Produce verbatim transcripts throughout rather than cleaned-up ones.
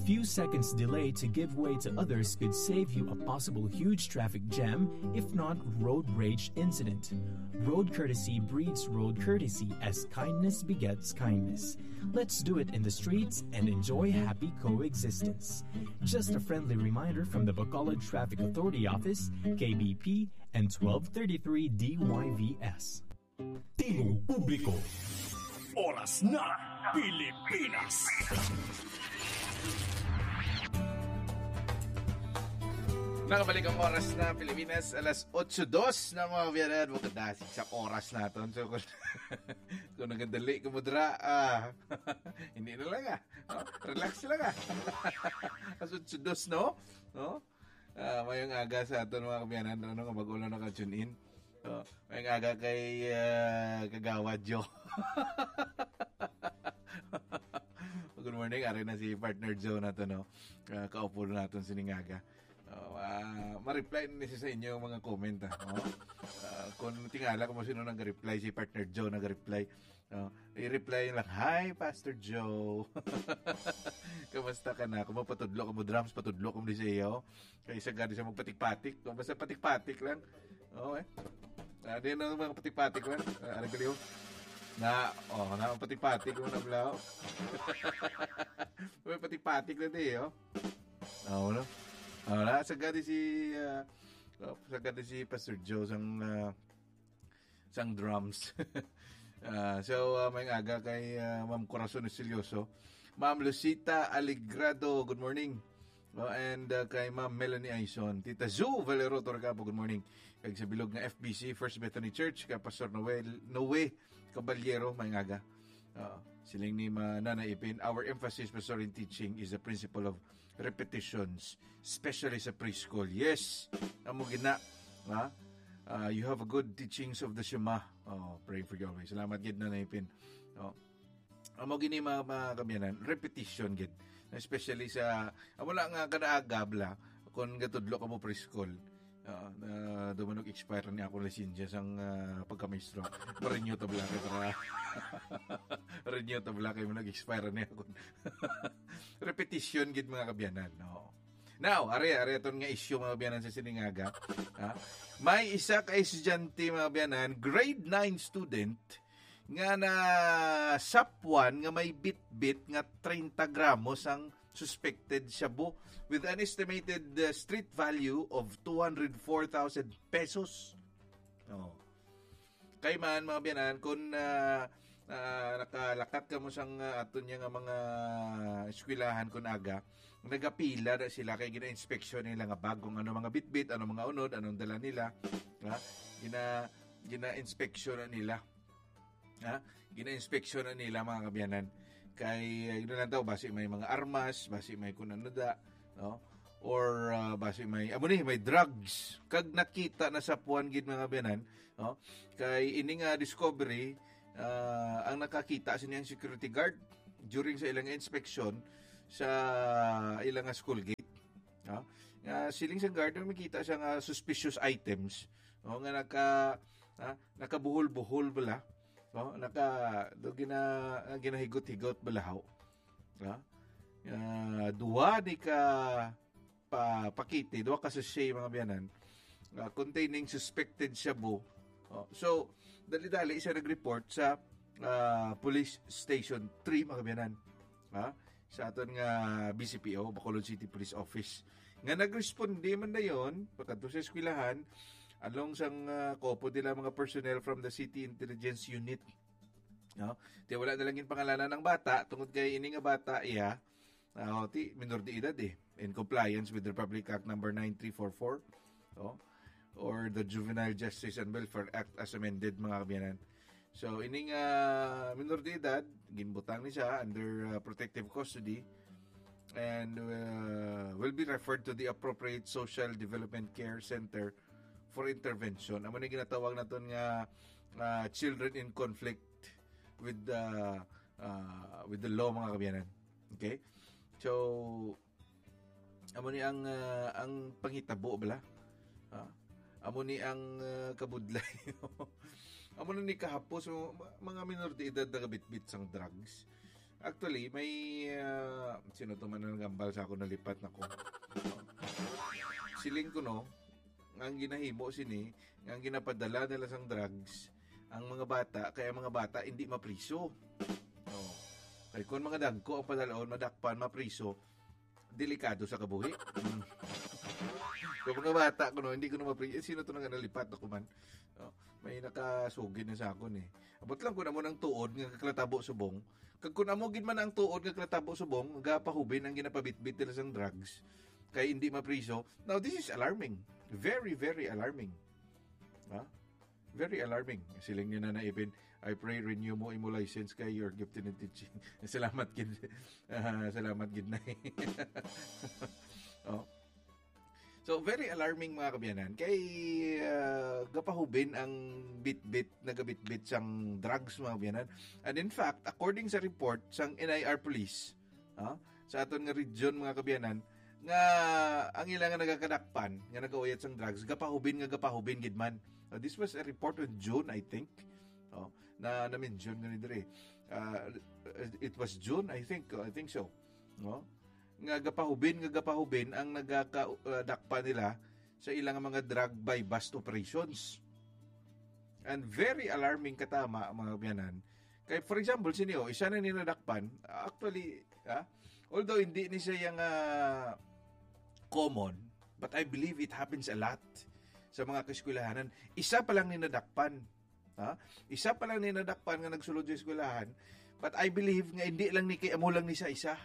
Few seconds delay to give way to others could save you a possible huge traffic jam, if not road rage incident. Road courtesy breeds road courtesy as kindness begets kindness. Let's do it in the streets and enjoy happy coexistence. Just a friendly reminder from the Bacolod Traffic Authority Office, K B P, and twelve thirty-three D Y V S. Tingog publiko. Oras na, Pilipinas. Nakabalik ang oras na Pilipinas, alas otso dos na, mga kabiyanan. Maganda sa oras naton. So, kung, kung nagadali ka mo dira, ah, hindi na lang, ah. No? Relax lang, ah. Alas otso dos, no? No? Ah, mayong aga sa aton, mga kabiyanan, ano, nga bag-o lang naka-tune in. Oh, mayong aga kay, ah, Kagawad Joe. Good morning, ari na si Partner Joe nato, no? Ah, kaupo naton sining aga. Oh, ah, ma-reply na siya sa inyo mga comment, ah. Oh? Ah, kung tingala ko mo sino nag-reply, si Partner Joe nag-reply. Oh, i-reply lang, "Hi, Pastor Joe." Kamusta ka na? Kung mapatudlo ka mo drums, patudlo ka mo di sa iyo. Kay sa gani sa magpatik-patik, no? Basta patik-patik lang. Oh, eh. Ah, di na mga patik-patik lang. Ah, ano kaliw? Na, oh, na patik-patik mo na, bro. May patik-patik na di, oh. Oh, no? Oh, na, sa gani si, ah, oh, sa gani si Pastor Joe sang, ah, sang drums. Ah, so, ah, mayong aga kay, ah, Ma'am Corazon Estilioso. Ma'am Lucita Aligrado, good morning. Oh, and, ah, kay Ma'am Melanie Aison. Tita Zu Valero Torcapo, good morning. Kag sa bilog nga F B C, First Bethany Church, kay Pastor Noel, Noe Caballero, mayong aga. Ah, siling ni Ma-, Nanay Ipin, "Our emphasis, Pastor, in teaching is the principle of repetitions, especially sa preschool." Yes, amo gina, ha? Ah, you have a good teachings of the Shema. Oh, praying for you always. Salamat gid, Nanay Ipin. Oh. Amo gini, mga, mga kabiyanan, repetition gid. Especially sa, amo na nga kada aga bala, kung gatudlo ka mo preschool. Ah, na dumanog expire ni akong lisensya sang, ah, pagkamaestro. Ma-renew ta bala kay para renew ta bala kay manog expire ni ako. Repetition gid, mga kabiyanan, no. Now, are, are aton nga issue, mga kabiyanan, sa sining aga. Ha? May isa ka estudyante, mga kabiyanan, grade nine student, nga nasapwan nga may bitbit nga treinta gramos ang suspected shabu with an estimated, uh, street value of two hundred four thousand pesos. Oh. Kay man, mga biyanan, kung, ah, ah, nakalakat ka mo sang, ah, aton niya nga mga eskwelahan kun aga, nagapila na sila kay gina-inspeksyon nila nga bag kung ano mga bitbit, ano mga unod, anong dala nila. Ha? Gina-, gina-inspeksyon na nila. Ha? Gina-inspeksyon na nila, mga kabiyanan. Kay, uh, yun lang daw, basi may mga armas, basi may kun ano da, no? Or, ah, basi may, amo ni, may drugs. Kag nakita na sa puwan gid, mga kabiyanan, no? Kay ini nga discovery, ah, ang nakakita sini ang security guard during sa ilang inspection sa ilang nga school gate. No? Nga siling sang guard, may makita siya nga suspicious items, no? Nga naka, ah, nakabuhol-buhol bala. No? Naka, do gina-, ah, ginahigot-higot bala, ho. Ha? Ah, duha ni ka pa-, pakete, duha ka sachet, mga biyanan, ah, containing suspected shabu. Oh, so, dali-dali siya nag-report sa, ah, Police Station three, mga biyanan. Ha? Sa aton nga B C P O, Bacolod City Police Office. Nga nagresponde man dayon, pakadto sa eskwelahan, along sang, ah, kopo nila mga personnel from the City Intelligence Unit. No? Ti wala na lang ginpangalanan ang bata, tungod kay ini nga bata, iya, ah, ti minor de edad eh, in compliance with Republic Act number nine three four four, oh, or the Juvenile Justice and Welfare Act as amended, mga kabiyanan. So, ining, ah, minor de edad, ginbutang ni siya under, ah, protective custody and, ah, will be referred to the appropriate social development care center for intervention. Amo ni ginatawag naton nga, ah, children in conflict with the, ah, with the law, mga kabiyanan. Okay? So, amo ni ang, ah, ang panghitabo bala. Ah, amo ni ang, ah, kabudlay. Amo na ni kahapos, so, ma-, mga minor de edad nagabitbit sang drugs. Actually, may, ah, sino to man ang nagambal sa ako, nalipat na ko. Siling ko, no, nga ang ginahimo sini, nga ang ginapadala nila sang drugs, ang mga bata, kaya ang mga bata hindi mapriso. Oh. Kay kung mga dagko ang padalaon, madakpan, mapriso, delikado sa kabuhi. Mm. Kung mga bata ko, no, hindi ko na mapri-, eh, sino to nga nalipat na kuman? Oh, may nakasugid na sa akon, eh. Abot lang ko na mo ng tuod nga kaklatabo subong. Kag kung amo gid man ang tuod nga klatabo subong, gapahubin ang ginapabitbit nila sang drugs kay hindi mapriso. Now, this is alarming. Very, very alarming. Ha? Very alarming. Siling ni Nanay Ipin, "I pray renew mo imo license kay you're gifted in teaching." Salamat gid. Ah, salamat gid na. Oh. So, very alarming, mga kabyanan. Kay, ah, gapahubin ang bitbit, nagabitbit sang drugs, mga kabyanan. And in fact, according sa report sang N I R Police, ah, sa aton nga region, mga kabyanan, nga ang ila nga nagakadakpan, nga nagauyat sang drugs, gapahubin nga gapahubin gid man. Uh, this was a report on June, I think. Oh, na na-mention gani diri. Ah, it was June, I think. Oh, I think so. No? Nga gapahubin, nga gapahubin ang nagaka-, uh, dakpan nila sa ilang mga drug buy-bust operations. And very alarming katama, mga kabyanan. Kay, for example, sini, oh, isa na ni nadakpan. Actually, ah, although hindi ni siya nga common, but I believe it happens a lot sa mga kaeskwelahanan. Isa pa lang ni nadakpan. Ha? Isa pa lang ni nadakpan nga nagsulod sa eskwelahan. But I believe nga hindi lang ni kay amo lang ni sa isa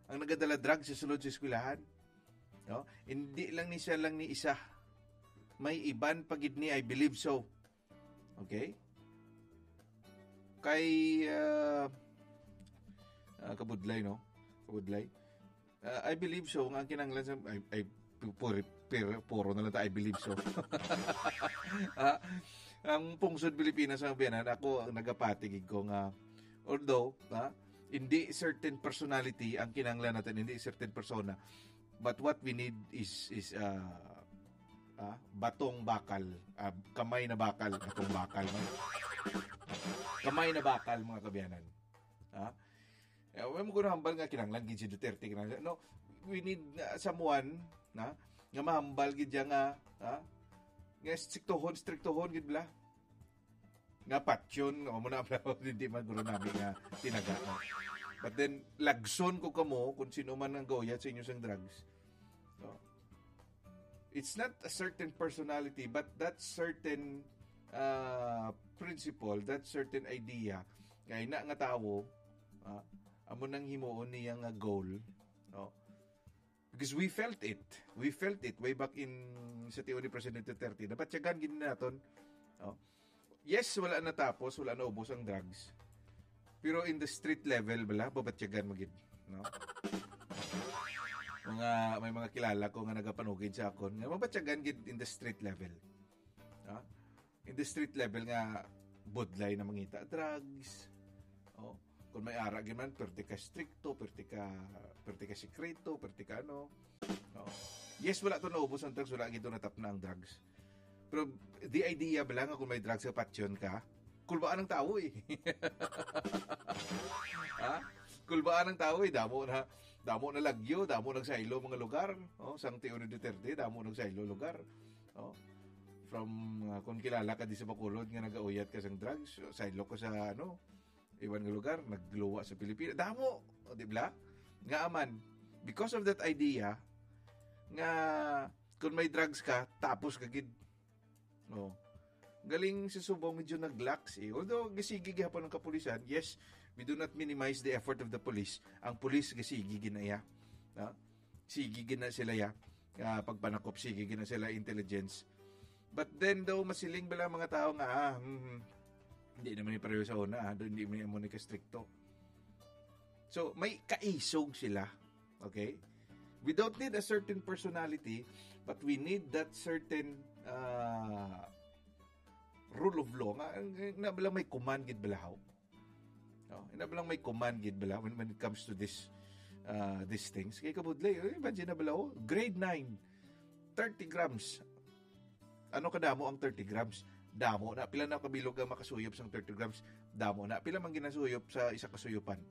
ang nagadala drug sa sulod sa eskwelahan. No? Hindi lang ni siya lang ni isa. May iban pa gid ni, I believe so. Okay? Kay, ah, ah, kabudlay, no? Kabudlay. Ah, I believe so, nga ang kinahanglan sa, ay, ay, pu-, puri-, pir-, puro na lang ta, "I believe so." Ah, ang pungsod Pilipinas, ang biyanan, ako, ang nagapatigig ko nga, although, ah, hindi certain personality ang kinahanglan natin, hindi certain persona, but what we need is, is, ah, ah, batong bakal, ah, kamay na bakal, batong bakal, no? Kamay na bakal, mga kabyanan. Ah, eh, wala mo ko nahambal nga kinahanglan gid si Duterte, kinahanglan. No, we need, uh, someone na nga mahambal gid siya nga, ha? Nga striktohon, striktohon gid bala. Nga patyon, o mo na, hindi man guro namin nga tinaga, no? But then, lagson ko kamo kung sino man ang gauyat sa inyo sang drugs. No? It's not a certain personality, but that certain, uh, principle, that certain idea, kay na nga tawo, ah, amo nang himuon niya nga goal, no? Because we felt it. We felt it way back in sa tiyo ni Presidente Duterte. Nabatyagan gid naton. No? Yes, wala natapos, wala naubos ang drugs. Pero in the street level, bala, babatyagan mo gid, no? Mga, may mga kilala ko nga nagapanugid sa akon, nga mabatyagan gid in the street level. Ha? In the street level nga budlay na mangita drugs. Oh, kung may ara gid man, perti ka strikto, perti ka, perti ka sekreto, perti ka ano. Oh. Yes, wala to naubos ang drugs, wala gid to natapna ang drugs. Pero the idea ba lang nga kung may drugs sa patyon ka, kulbaan ang tawo eh. Ha? Kulbaan ang tawo eh. Damo na, damo na lagyo, damo nagsaylo mga lugar. Oh, sang tiyo ni Duterte, damo nagsaylo lugar. Oh. From, uh, kung kilala ka di sa Bacolod nga nagauyat ka sang drugs, saylo ka sa, ano, iban nga lugar, nagluwa sa Pilipinas. Damo, o, di ba? Nga aman, because of that idea, nga kung may drugs ka, tapos ka gid. Oh. Galing sa subong, medyo nag-lax eh. Although, gasigi gihapon ang kapulisan, yes, we do not minimize the effort of the police. Ang police, gasigi gid na iya. Ha? Sige gid na sila ya. Ah, pagpanakop, sige gid na sila intelligence. But then daw, masiling bala ang mga tao nga, ah, hmm, hmm, hindi naman ni pareho sa una, ah, hindi man ni amo ni kastrikto. So, may kaisog sila. Okay? We don't need a certain personality, but we need that certain, ah, rule of law. Nga, nga, nga bala may command gid bala, haw? No? Ina bala may command gid bala when, when it comes to this, ah, these things. Kay kabudlay, eh, imagine na bala, oh, grade nine, thirty grams. Ano kadamo ang thirty grams? Damo na. Pila na kabilog ang makasuyop sang thirty grams? Damo na. Pila man ginasuyop sa isa ka suyupan?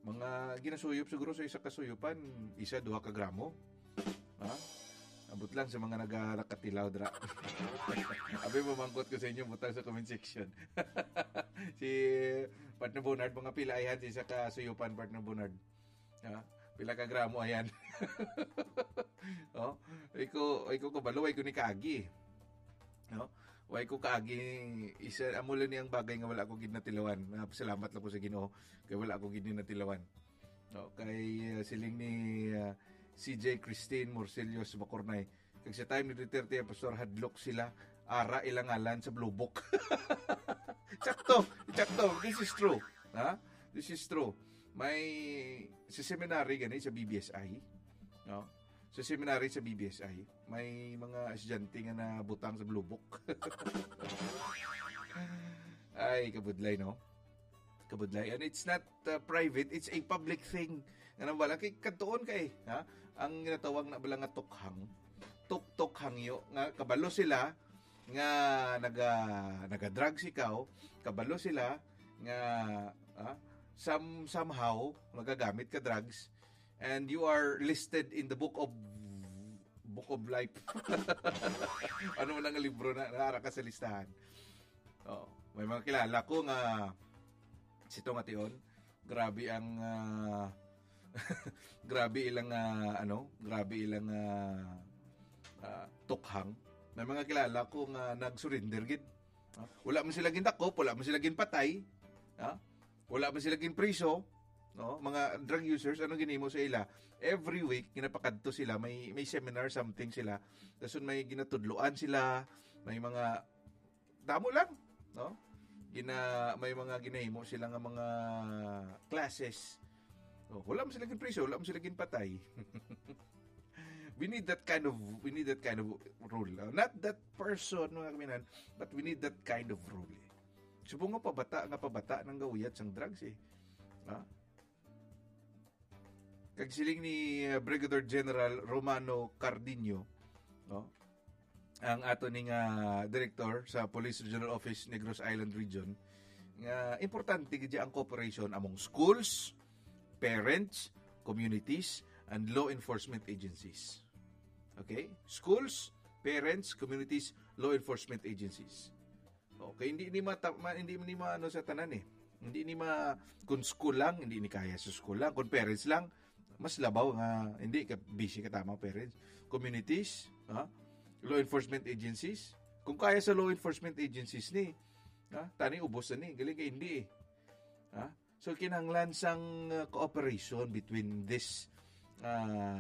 Mga ginasuyop siguro sa isa ka suyupan, isa, duha ka gramo. Ha? Abot lang sa mga naga-, nakatilaw dra. Abi, mamangkot ko sa inyo, butang sa comment section. Si Partner Bernard, mga pila ayhan sa isa ka suyupan, Partner Bernard? Ha? Pila ka gramo ayan? Oh, iko, iko kabalo, way ko ni kaagi. No? Way ko kaagi, isa, amo lang ni ang bagay nga wala ko gid natilawan. Nagapasalamat lang ko sa Ginoo kay wala ko gid ni natilawan. No, kay, uh, siling ni, uh, C J Christine Morcillos Bacornay, kag sa time ni Duterte ang pastor, hadlok sila, ara ilang ngalan sa Blue Book. Sakto, sakto. This is true. Ha? This is true. May, sa seminary gani, sa B B S I, no? Sa seminary, sa B B S I, may mga estudyante nga nabutang sa Blue Book. Ay, kabudlay, no? Kabudlay. And it's not, uh, private, it's a public thing. Nga nang wala kay kadtuon kay, ha? Ang ginatawag na bala nga tukhang. Tuktok hangyo nga kabalo sila nga naga, naga-drugs ikaw, kabalo sila nga, ah, some, somehow magagamit ka drugs, and you are listed in the book of, book of life. Ano man ang libro na naara ka sa listahan? Oh, may mga kilala ko nga sito nga tion, grabe ang, ah, grabe ilang, ah, ano, grabe ilang, ah, ah, tukhang. May mga kilala ko nga nag-surrender gid. Ah, wala man sila gindakop, wala man sila ginpatay. Ah, wala man sila ginpriso. No, mga drug users, ano ginimo sa ila? Every week, ginapakadto sila, may, may seminar, something sila. Tapos may ginatudloan sila, may mga, damo lang, no? Gina-, may mga ginahimo sila nga mga classes. Oh, wala man sila ginpriso, wala man sila ginpatay. We need that kind of, we need that kind of rule. Uh, not that person, mga kaminan, but we need that kind of rule, eh. Subong nga pabata, nga pabata nang gauyat sang drugs, eh. Ha? Kag siling ni, uh, Brigadier General Romano Cardinio, no? Ang ato ni nga director sa Police Regional Office Negros Island Region, nga importante gid ang cooperation among schools, parents, communities, and law enforcement agencies. Okay? Schools, parents, communities, law enforcement agencies. Okay, hindi ni mata-, ma-, hindi ni maano sa tanan, eh. Hindi ni ma-, kung school lang, hindi ni kaya sa school lang. Kung parents lang, mas labaw nga, hindi ka, busy ka tama, parents. Communities, ha? Law enforcement agencies. Kung kaya sa law enforcement agencies ni, ha? Tani ubos na ni, galing ka hindi, eh. Ha? So, kinahanglan sang, uh, cooperation between this, uh,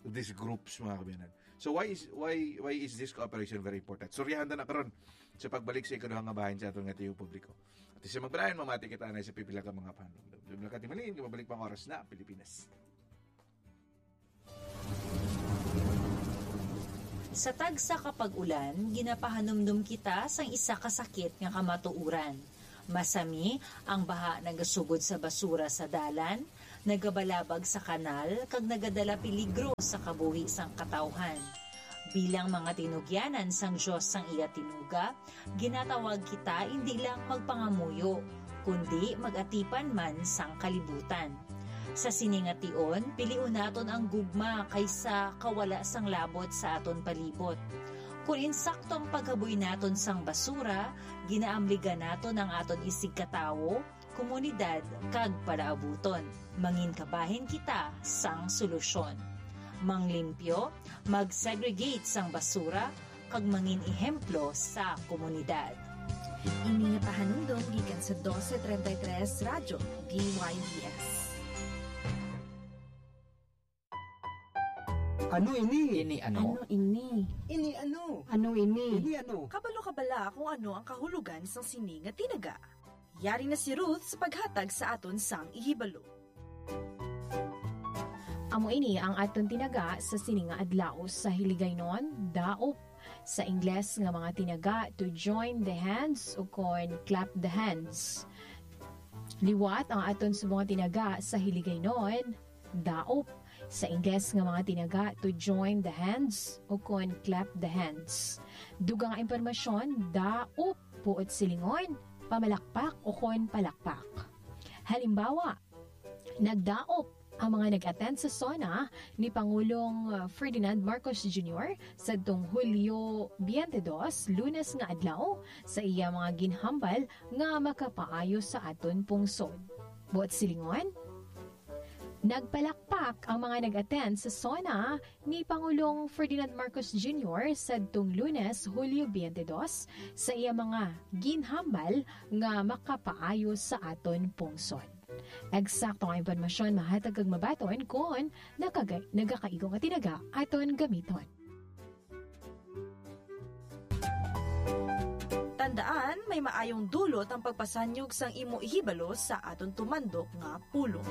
these groups, mga kabiyanan. So, why is, why, why is this cooperation very important? Suryahan ta na karon sa pagbalik sa ikaduha nga bahin sa aton nga tiyo publiko. At sa magpalayan, mamati kita na sa pipila ka mga panumdum. Dubla ka timalin, mabalik pang oras na, Pilipinas. Sa tagsa ka pag-ulan, ginapahanumdom kita sang isa ka sakit nga kamatuoran. Masami ang baha nagasugod sa basura sa dalan, nagabalabag sa kanal, kag nagadala peligro sa kabuhi sang katawhan. Bilang mga tinugyanan sang Dios sang iya tinuga, ginatawag kita indi lang magpangamuyo, kundi mag-atipan man sang kalibutan. Sa sini nga tion, pilion naton ang gugma kaysa kawala sang labot sa aton palibot. Kon insakto ang paghaboy naton sang basura, ginaamligan naton ang aton isigkatawo, komunidad, kag palaabuton. Mangin kabahin kita sang solusyon. Manglimpyo, mag-segregate sang basura, kag mangin ehemplo sa komunidad. Ini nga pahanumdom gikan sa dose treinta y tres Radyo D Y D S. Ano ini? Ini ano? Ano ini? Ini ano? Ano ini? Ini ano? Kabalo ka bala kung ano ang kahulogan sang sini nga tinaga? Yari na si Ruth sa paghatag sa aton sang ihibalo. Amo ini ang aton tinaga sa sini nga adlaw. Sa Hiligaynon, daop. Sa Ingles nga mga tinaga, to join the hands, ukon clap the hands. Liwat ang aton subong nga tinaga sa Hiligaynon, daop. Sa Ingles nga mga tinaga, to join the hands, ukon clap the hands. Dugang nga impormasyon, daop, buot silingon, pamalakpak, ukon palakpak. Halimbawa, Nagdaop ang mga nag-attend sa SONA ni Pangulong, uh, Ferdinand Marcos Junior sadtong Hulyo twenty-two, Lunes nga adlaw, sa iya mga ginhambal nga makapaayo sa aton pungsod. Buot silingon, nagpalakpak ang mga nag-attend sa SONA ni Pangulong Ferdinand Marcos Junior sadtong Lunes, Hulyo twenty-two, sa iya mga ginhambal nga makapaayo sa aton pungsod. Eksakto nga impormasyon mahatag kag mabaton kon nakaga-, nagakaigo nga tinaga aton gamiton. Tandaan, may maayong dulot ang pagpasanyog sang imo ihibalo sa aton tumandok nga pulong.